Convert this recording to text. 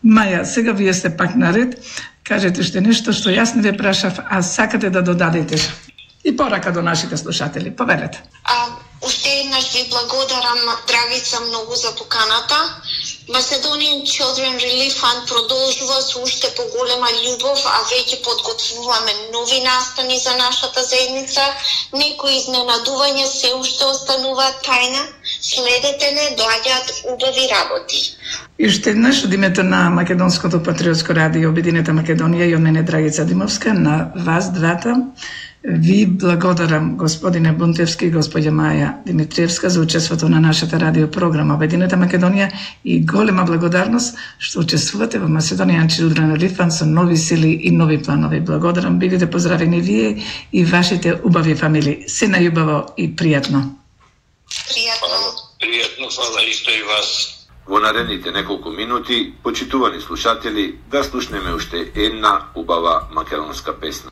Маја, сега вие сте пак наред. Кажете уште нешто што јас не ве прашав, а сакате да додадете. И порака до нашите слушатели. Повелете. Уште еднаш ви благодарам, Драгица, многу за поканата. Macedonian Children Relief Fund продолжува со уште поголема љубов, а веќе подготвуваме нови настани за нашата заедница. Некои изненадувања се уште остануваат тајна. Следете не, доаѓаат убави работи. И уште еднаш од името на Македонското патриотско радио Обединета Македонија и од мене Драгица Димовска, на вас двата, ви благодарам, господине Бунтевски и господја Маја Димитриевска, за учеството на нашата радиопрограма Обединета Македонија и голема благодарност што учествувате во Macedonian Children Relief Fund со нови сили и нови планови. Благодарам, бидете поздравени вие и вашите убави фамилии. Се најубаво и пријатно. Пријатно, фала исто и вас. Во наредните неколку минути, почитувани слушатели, да слушнеме уште една убава македонска песна.